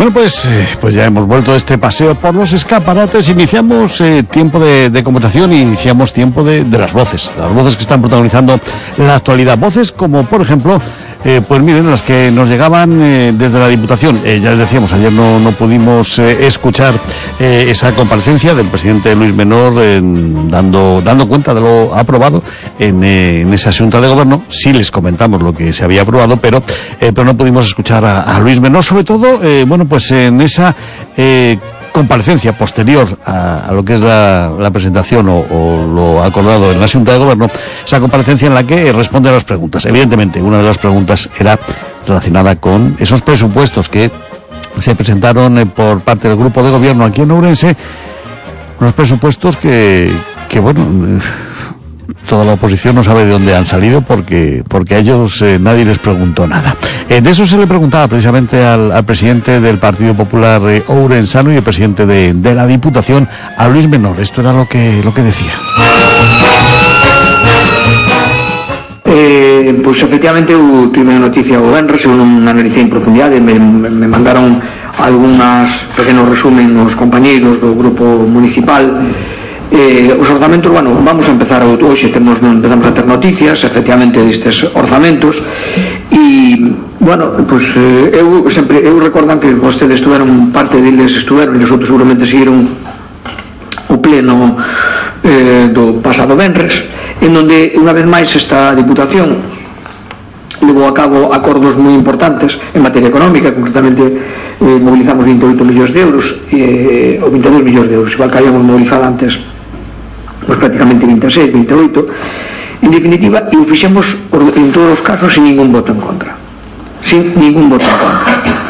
Bueno, pues ya hemos vuelto de este paseo por los escaparates. Iniciamos tiempo de conversación y iniciamos tiempo de las voces que están protagonizando la actualidad. Voces como, por ejemplo, pues miren, las que nos llegaban desde la Diputación. Ya les decíamos, ayer no pudimos escuchar esa comparecencia del presidente Luis Menor dando cuenta de lo aprobado en esa Junta de Gobierno. Sí les comentamos lo que se había aprobado, pero no pudimos escuchar a Luis Menor, sobre todo, pues en esa comparecencia posterior a lo que es la presentación o lo acordado en la Junta de Gobierno, esa comparecencia en la que responde a las preguntas. Evidentemente, una de las preguntas era relacionada con esos presupuestos que se presentaron por parte del Grupo de Gobierno aquí en Ourense, unos presupuestos que toda la oposición no sabe de dónde han salido porque a ellos nadie les preguntó nada. De eso se le preguntaba precisamente al presidente del Partido Popular ourensano y el presidente de la Diputación, a Luis Menor. Esto era lo que decía. Pues efectivamente tuve una noticia o venres, non analicei en profundidade, me mandaron algunas pequenos resumen os compañeiros do grupo municipal. Os orzamentos, vamos a empezar hoxe, empezamos a ter noticias efectivamente destes orzamentos e, eu recordan que vostedes estuveron, parte deles estuveron e os outros seguramente seguiron o pleno do pasado venres, en donde unha vez máis esta Diputación levou a cabo acordos moi importantes en materia económica. Concretamente mobilizamos 28 millóns de euros ou 22 millóns de euros, igual que habíamos mobilizado antes pues prácticamente 26, 28, en definitiva, e o fixemos en todos os casos sin ningún voto en contra.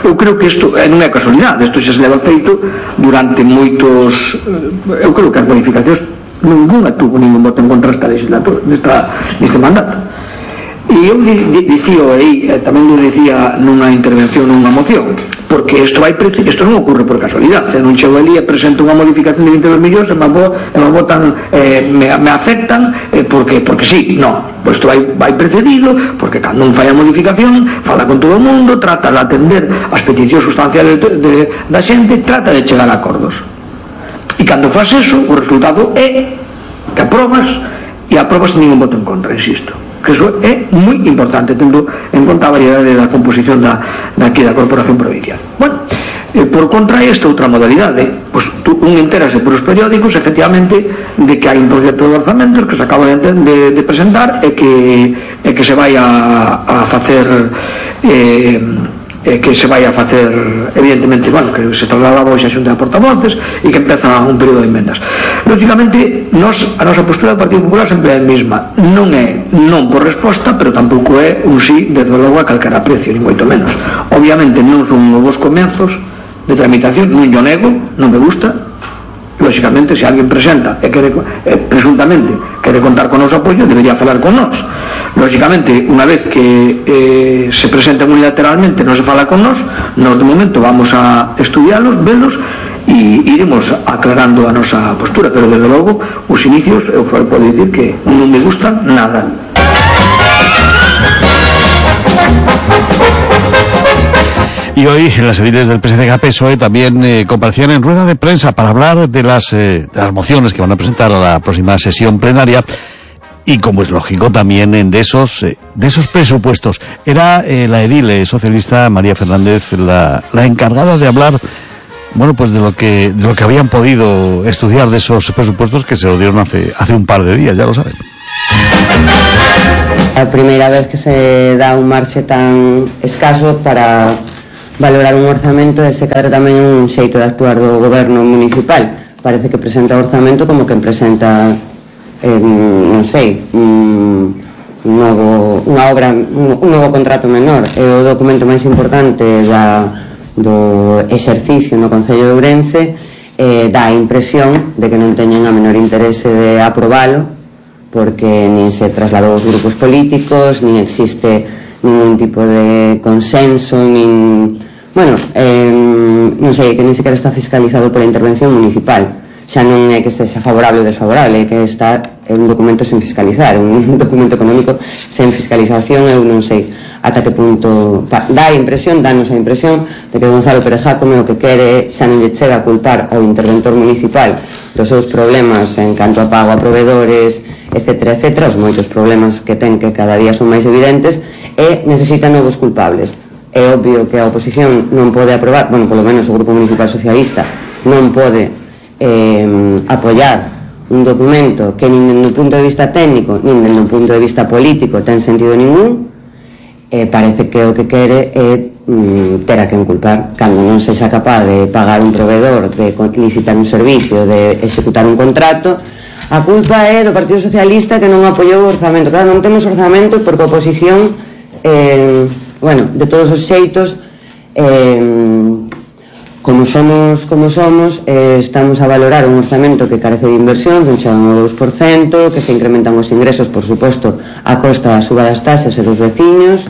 Eu creo que isto non é casualidade, isto xa se leva feito durante moitos, eu creo que as bonificacións ninguna tuvo ningún voto en contra esta legislatura, neste mandato. E eu dicía aí, tamén lo dicía nunha intervención, nunha moción, porque isto non ocurre por casualidade. Se non chego ali e presento unha modificación de 22 millóns e me votan, me aceptan porque sí, non. Pois isto vai precedido, porque cando un fai a modificación fala con todo o mundo, trata de atender as peticións sustanciales da xente, trata de chegar a acordos. E cando faz eso, o resultado é que aprobas sin ningún voto en contra, insisto, que eso é moi importante, tendo en conta a variedade da composición daqui da Corporación Provincial. Por contra esta outra modalidade, un entérase por os periódicos efectivamente de que hai un proxecto de orzamentos que se acaba de presentar e que se vai a facer evidentemente, que se trasladaba hoxe a Xunta de Portavoces e que empeza un período de enmendas. Lógicamente, a nosa postura do Partido Popular sempre é a mesma, non é non por resposta, pero tampouco é un sí desde logo a calquera precio, ni moito menos. Obviamente non son novos comenzos de tramitación, non yo nego, non me gusta. Lógicamente, se alguén presenta e presuntamente quere contar con o noso apoio, debería falar con nós. Lógicamente, unha vez que se presenten unilateralmente, non se fala con nós de momento vamos a estudialos, velos e iremos aclarando a nosa postura, pero desde logo os inicios eu só podo dicir que non me gustan nada. Y hoy las ediles del PSDG-PSOE también comparecían en rueda de prensa para hablar de las mociones que van a presentar a la próxima sesión plenaria y, como es lógico, también de esos presupuestos. Era la edil socialista María Fernández la encargada de hablar, pues de lo que habían podido estudiar de esos presupuestos que se lo dieron hace un par de días, ya lo saben. A primeira vez que se dá un marxe tan escaso para valorar un orzamento e se cadra tamén un xeito de actuar do goberno municipal. Parece que presenta o orzamento como que presenta un novo contrato menor. É o documento máis importante do exercicio no Concello de Ourense. Dá a impresión de que non teñen a menor interese de aprobalo, porque nin se trasladou aos grupos políticos, nin existe ningún tipo de consenso, non non sei, que nin sequera está fiscalizado pola intervención municipal. Xa non é que sexa favorable ou desfavorable, é que está un documento sen fiscalizar, un documento económico sen fiscalización. Eu non sei ata que punto danos a impresión de que Gonzalo Pérez Jácome o que quere xa non lle chega a culpar ao interventor municipal dos seus problemas en canto a pago a proveedores, etcétera, etcétera, os moitos problemas que ten que cada día son máis evidentes, e necesita novos culpables. É obvio que a oposición non pode aprobar, bueno, polo menos o Grupo Municipal Socialista non pode apoiar un documento que nin dende un punto de vista técnico nin dende un punto de vista político ten sentido ningún. Parece que o que quere é ter a quen culpar cando non sexa capaz de pagar un proveedor, de licitar un servicio, de executar un contrato. A culpa é do Partido Socialista que non apoiou o orzamento. Claro, non temos orzamento porque a oposición de todos os xeitos como somos, estamos a valorar un orzamento que carece de inversión, dun chegan ao 2%, que se incrementan os ingresos, por suposto, a costa da suba das taxas e dos veciños,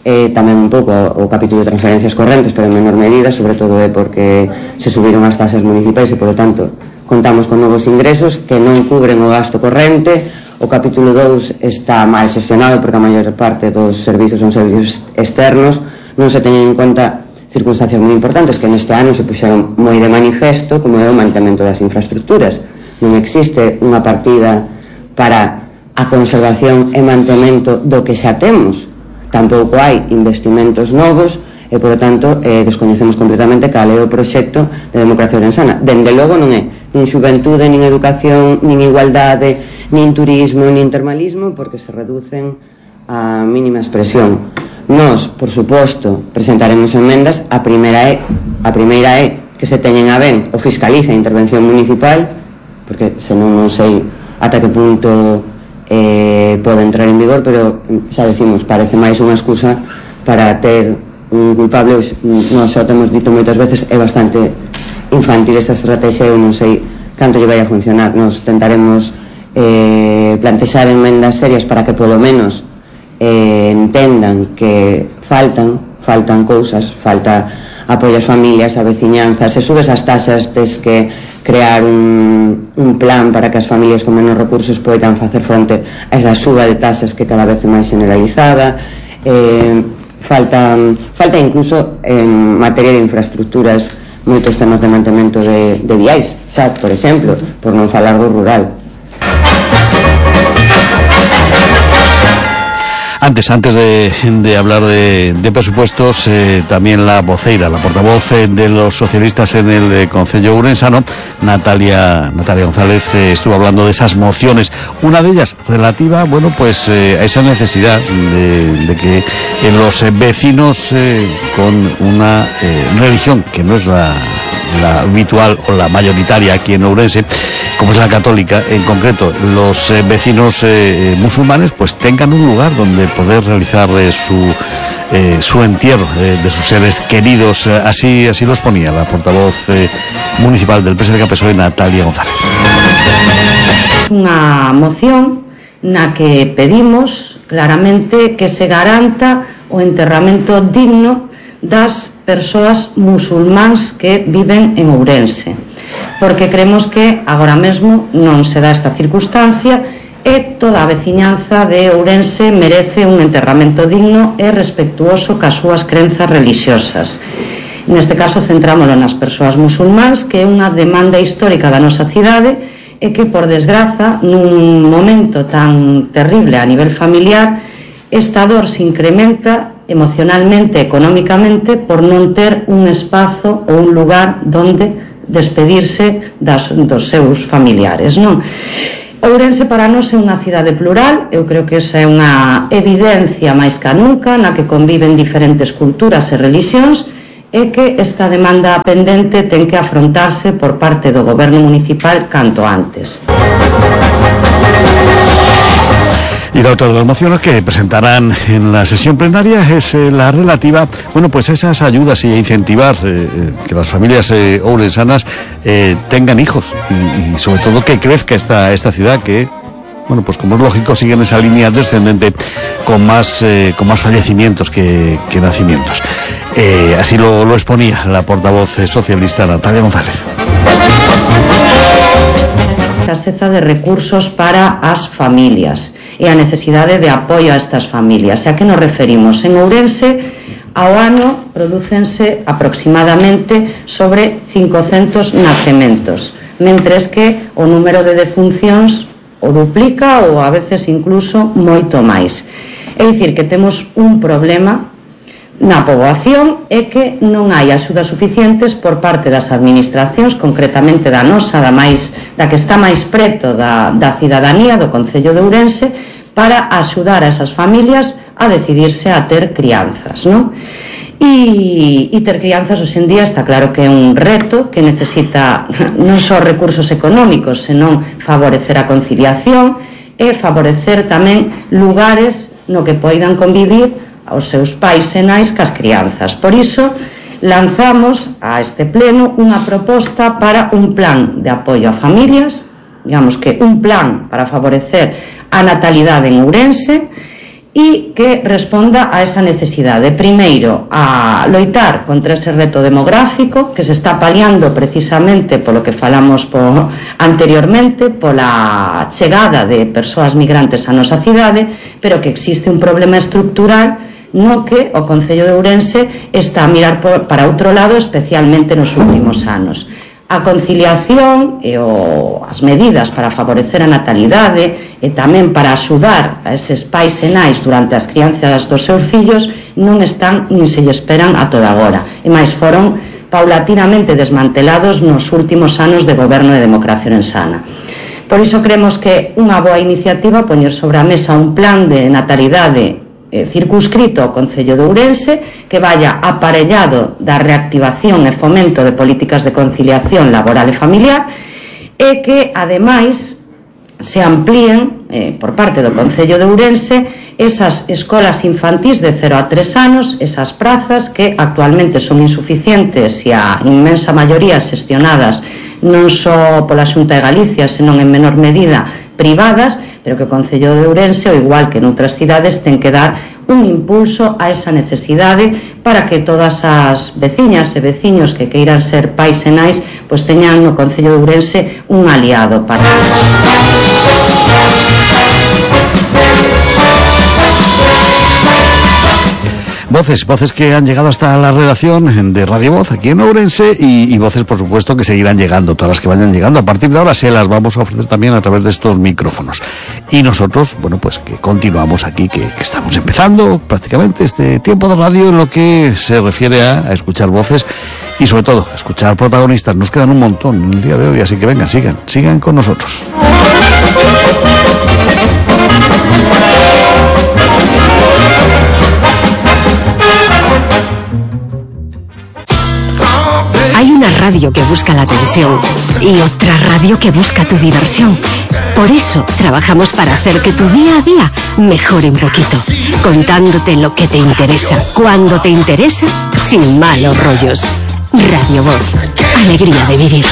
tamén un pouco o capítulo de transferencias correntes, pero en menor medida, sobre todo é porque se subiron as taxas municipais e, por lo tanto, contamos con novos ingresos que non cubren o gasto corrente. O capítulo 2 está mal xestionado porque a maior parte dos servizos son servizos externos, non se teñen en conta circunstancias moi importantes que neste ano se puxeron moi de manifesto, como é o mantemento das infraestructuras. Non existe unha partida para a conservación e mantemento do que xa temos, tampouco hai investimentos novos e, por lo tanto, descoñecemos completamente cal é o proxecto de democracia ourensana. Dende logo non é nin xuventude, nin educación, nin igualdade, nin turismo, nin termalismo, porque se reducen a mínima expresión. Nós, por suposto, presentaremos emendas. A primeira é que se teñen a ben o fiscaliza a intervención municipal, porque senón non sei ata que punto pode entrar en vigor, pero xa decimos, parece máis unha excusa para ter un culpable. Nós xa temos dito moitas veces, é bastante infantil esta estrategia. Eu non sei canto lle vai a funcionar. Nos tentaremos plantexar enmendas serias para que polo menos entendan que faltan cousas, falta apoio ás familias, a veciñanza. Se subes as taxas, tes que crear un plan para que as familias con menos recursos poidan facer fronte a esa suba de taxas que cada vez é máis generalizada. Falta incluso en materia de infraestructuras moitos temas de mantemento de viais, xa, por exemplo, por non falar do rural. Antes de hablar de presupuestos, también la voceira, la portavoz de los socialistas en el Concello Ourensano, Natalia González, estuvo hablando de esas mociones. Una de ellas relativa, a esa necesidad de que los vecinos con una religión que no es la habitual o la mayoritaria aquí en Ourense, como es la católica, en concreto los vecinos musulmanes, pues tengan un lugar donde poder realizar su entierro de sus seres queridos. Así lo exponía la portavoz municipal del PSDG-PSOE, Natalia González. Unha moción na que pedimos claramente que se garanta o enterramento digno das persoas musulmáns que viven en Ourense, porque creemos que agora mesmo non se dá esta circunstancia e toda a veciñanza de Ourense merece un enterramento digno e respectuoso cas súas crenzas religiosas. Neste caso centrámoslo nas persoas musulmáns, que é unha demanda histórica da nosa cidade e que, por desgraza, nun momento tan terrible a nivel familiar, esta dor se incrementa emocionalmente, económicamente, por non ter un espazo ou un lugar donde despedirse dos seus familiares, non? Ourense para nós é unha cidade plural. Eu creo que esa é unha evidencia máis que nunca, na que conviven diferentes culturas e religións, e que esta demanda pendente ten que afrontarse por parte do goberno municipal canto antes. Y la otra de las mociones que presentarán en la sesión plenaria es la relativa, a esas ayudas y a incentivar que las familias ourensanas tengan hijos y sobre todo que crezca esta ciudad que bueno, pues como es lógico, siguen esa línea descendente con más fallecimientos que nacimientos. Así lo exponía la portavoz socialista Natalia González. Escaseza de recursos para as familias e a necesidade de apoio a estas familias. E a que nos referimos? En Ourense, ao ano prodúcense aproximadamente sobre 500 nacementos, mentres que o número de defuncións o duplica ou a veces incluso moito máis. É dicir, que temos un problema na poboación é que non hai axudas suficientes por parte das administracións, concretamente da nosa, da que está máis preto da cidadanía do Concello de Ourense, para axudar a esas familias a decidirse a ter crianzas, non? E ter crianzas hoxe en día está claro que é un reto que necesita non só recursos económicos, senón favorecer a conciliación e favorecer tamén lugares no que poidan convivir aos seus pais e nais cas crianzas. Por iso lanzamos a este pleno unha proposta para un plan de apoio a familias, digamos que un plan para favorecer a natalidade en Ourense e que responda a esa necesidade. Primeiro, a loitar contra ese reto demográfico que se está paliando precisamente polo que falamos anteriormente, pola chegada de persoas migrantes á nosa cidade, pero que existe un problema estructural no que o Concello de Ourense está a mirar para outro lado, especialmente nos últimos anos. A conciliación e as medidas para favorecer a natalidade e tamén para axudar a eses pais e nais durante as crianzas dos seus fillos non están nin se lle esperan a toda agora. E máis foron paulatinamente desmantelados nos últimos anos de goberno de Democracia Orensana. Por iso creemos que unha boa iniciativa poñer sobre a mesa un plan de natalidade circunscrito ao Concello de Ourense que vaya aparellado da reactivación e fomento de políticas de conciliación laboral e familiar e que, ademais, se amplíen por parte do Concello de Ourense esas escolas infantís de 0 a 3 anos, esas prazas que actualmente son insuficientes e a inmensa maioría xestionadas non só pola Xunta de Galicia, senón en menor medida privadas, pero que o Concello de Ourense, ao igual que noutras cidades, ten que dar un impulso a esa necesidade para que todas as veciñas e veciños que queiran ser pais e nais pois teñan no Concello de Ourense un aliado para Voces que han llegado hasta la redacción de Radio Voz aquí en Ourense y voces, por supuesto, que seguirán llegando, todas las que vayan llegando. A partir de ahora se las vamos a ofrecer también a través de estos micrófonos. Y nosotros, bueno, pues que continuamos aquí, que estamos empezando prácticamente este tiempo de radio en lo que se refiere a escuchar voces y sobre todo a escuchar protagonistas. Nos quedan un montón en el día de hoy, así que vengan, sigan con nosotros. Hay una radio que busca la atención y otra radio que busca tu diversión. Por eso trabajamos para hacer que tu día a día mejore un poquito, contándote lo que te interesa, cuando te interesa, sin malos rollos. Radio Voz, alegría de vivir.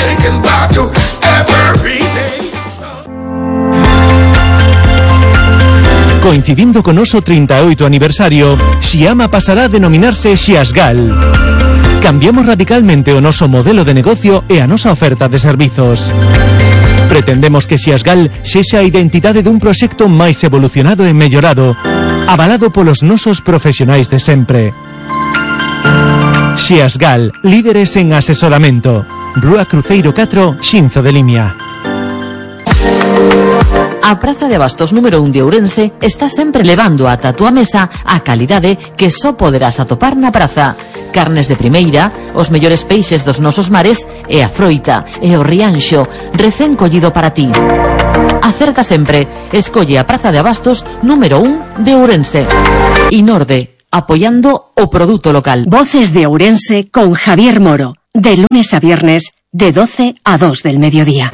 Coincidindo con noso 38 aniversario, Xiama pasará a denominarse Xiasgal. Cambiamos radicalmente o noso modelo de negocio e a nosa oferta de servizos. Pretendemos que Xiasgal sexa a identidade dun proxecto máis evolucionado e mellorado, avalado polos nosos profesionais de sempre. Xiasgal, líderes en asesoramento. Rúa Cruceiro 4, Xinzo de Limia. A Praza de Abastos número 1 de Ourense está sempre levando ata a túa mesa a calidade que só poderás atopar na praza. Carnes de primeira, os mellores peixes dos nosos mares e a froita e o rianxo recén collido para ti. Acerta sempre, escolle a Praza de Abastos número 1 de Ourense. Inorde, apoiando o produto local. Voces de Ourense con Javier Moro, de lunes a viernes, de 12 a 2 del mediodía.